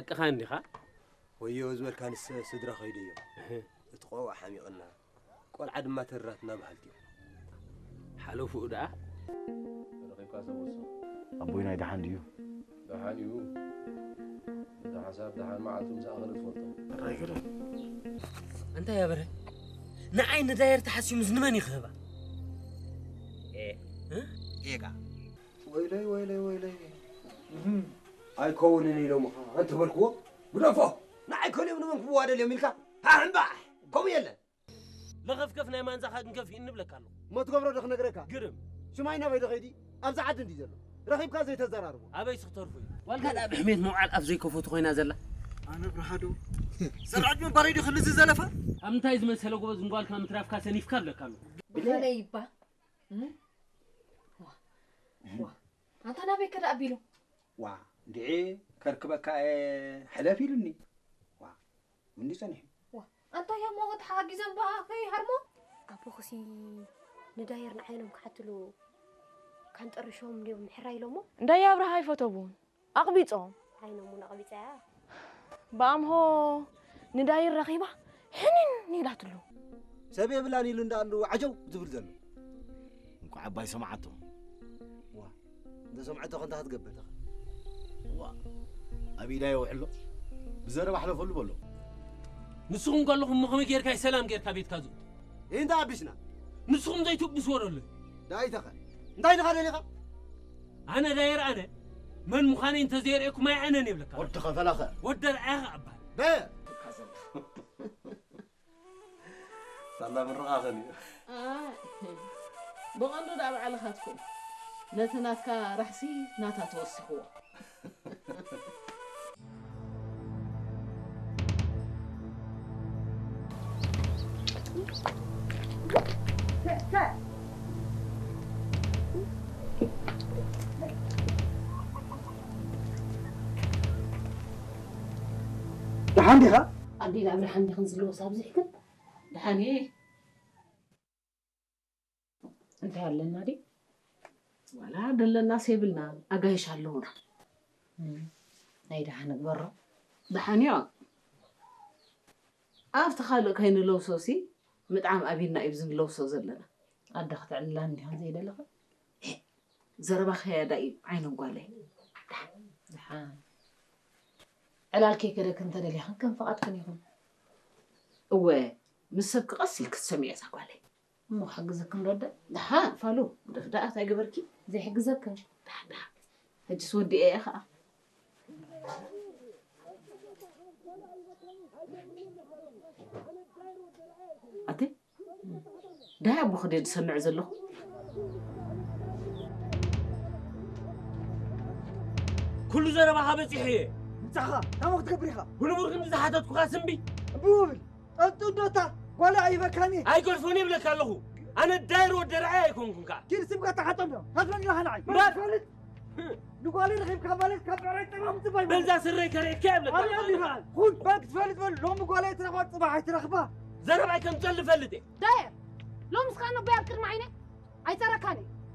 ደቅኻ እንዲኻ? ወዮ ዝበልካ ንስ ስድራ ከይዱ እዮም። እቲ ቆልዓ ሓሚቕና፣ ቆልዓ ድማ ተራትና በሃልቲ እዮም። ሓለፉኡ ደኣ ረኺብካ ሰብ ወሶ። ኣቦይ ናይ ደሓን ድዩ? ደሓን እዩ። እቲ ሓሳብ ደሓን መዓልቱ ምስ ኣኸለ ትፈልጦ። ራይ ግርም። እንታይ ያበረ ንዓይ ንዳየር ተሓሲሙስ ንመን ይኽህባ? ኤጋ ወይለይ ወይለይ ወይለይ። ኣይከውንን ኢሎምኻ እንተበልክዎ፣ ግደፎ፣ ንዓይ ከልዮም ንመን ክዋደል እዮም ኢልካ፣ ሃሕምባሕ፣ ከምኡ የለን። ለኸፍከፍ ናይ ማንዛኻ ግን ከፊእኒ እብለካ ኣለኹ። እሞ ትገብሮ ዶ ክነግረካ? ግርም። ሽማይ ናበይ ዶ ከይዲ? ኣብዚ ዓዲ እንዲ ዘሎ ረኺብካ ዘይተዘራርቦ። ኣበይ ስኽተርፉ እዩ? ዋልካ ደኣ ብሕሜት መውዓል ኣፍ ዘይከፈቱ ኮይና ዘላ። ኣነ ብርሃዶ። ዘርዓድ ምባረይ ዶ ክልዚ ዘለፋ? ኣብ ምንታይ ዝመሰለ ጎበዝ ንጓልካ ምትራፍካ ሰኒፍካ እብለካ ኣለኹ። ብኸለይ ይባ እም? ዋ፣ ዋ። ኣንታ ናበይ ከ ደኣ ኣቢሉ? ዋ፣ እንድዒ ከርክበካ እየ ሕለፍ ኢሉኒ። ዋ፣ እንዲ ጸኒሑ። ዋ፣ ኣንታ ያሞ ተሓጊዘን በኣ ከይሃርሞ? ኣቦኽሲ ንዳየር ንዓይኖም ክሓትሉ ካንጠርሾም እንዲዮም ምሕራይ ኢሎሞ? እንዳየ ኣብርሃ ኣይፈተቡን። ኣቕቢጾም። ዓይኖም እውን ኣቕቢጻ እያ። ብኣምሆ ንዳይር ረኺባ ሕንን ኢላትሉ። ሰብ የብላን ኢሉ እንዳኣሉ ዓጀው ዝብል ዘሎ። እንኳዕ ኣባይ ሰማዓቶ። ዋ፣ እንተ ሰምዐቶ ከንታ ክትገብር ተኸ? ዋ፣ ኣብ ኢዳ የውዕሎ። ብዘረባ ሕለፈሉ በሎ። ንስኹም ከለኹም እሞ ከመይ ጌርካ እዩ ሰላም ጌርካ ቤትካ ዝእቱ? እንታይ ኣቢስና? ንስኹም ዘይትብስዎ ደሎ። ዳይተኸ? እንታይ ድኻ ደሊኻ? ኣነ ዳየር ኣነ መን ምዃነይ እንተዘየርእየኩም ኣይዕነን የብለካ። ወዲ ኸፈላኸ። ወዲ ኣርኣያኸ ኣባል። በ- ሳላ ምርቓኸን እዩ። ኣይ፣ ብቐንዱ ደኣ ባዕልኻትኩም ነቲ ናትካ ራሕሲ ናታ ተወሲኽዎ። ደሓን ዲኻ? ኣዴ ኣብርሃ እንዲኽን ዝለወስ ኣብዚሕክን ደሓን እየ። እንታይ ኣለና ድዩ? ዋላ ደለናስ የብልናን፣ ኣጋይሽ ኣለዉና። ናይ ደሓን ንግበሮ። ደሓን እዮ። ኣብቲ ካልእ ከይንለብሶሲ ምጥዓም ኣቢልና እዩ ብዚ ንለብሶ ዘለና። ኣደ ክትዕልላኒ ዲኻ ዘይደለኻ? ዘረባኺ ያዳ እዩ ዓይነ ጓለይ። ደሓን። ዕላል ከይከደክን እንተደሊኽን ከም ፍቓድክን ይኹን። እወ፣ ምስ ሰብኪ ቀስ ኢልኪ ትሰምዒ እዛ ጓለይ። እሞ ክሕግዘክን ዶ ኣደ? ደሓን ፋሉ፣ ግደፍ ደኣ እንታይ ገበርኪ? ዘይሕግዘክን። ደሓን፣ ደሓን። ሕጅስ ወዲኤ እየ ኸኣ። ኣቲ፣ ዳይ ኣቦ ክደ ዝሰምዕ ዘለኹ። ኩሉ ዘረባኻ በጺሐ እየ። ምጻኻ ታሞ ክትገብር ኢኻ። ብንቡር ክንዲ ዝሓተትኩኻ ስምቢ። እምቢ ውብል። ጠንጡ እንዶ እታ ጓል ኣይበካኒ። ኣይገድፎን እየ እብለካ ኣለኹ። ኣነ ዳይር ወዲ ርኣይ ኣይኮንኩን ከኣ። ኪድ ስምካ ተሓቶም ዶ። ሃፍረኒ ኢኻ ንዓይ። እምበር! ንጓለይ ረኺብካ ማለት ካብ ብዕራይ ጠማም ጽባይ ማለት። በዛ ስረይ ከርእየካ እየ እብለካ ኣለኹ። ኣነ እምቢ በል። ኩን በል ክትፈልጥ በል። ሎሚ ጓለይ ትረኽባ ጽባሕ ኣይትረኽባ። ዘረባይ ከም ዝጸሊ እፈልጥ እየ። ዳየር፣ ሎምስ ከኣ ነቦይ ኣብ ቅድሚ ዓይነይ ኣይጸረካን እየ።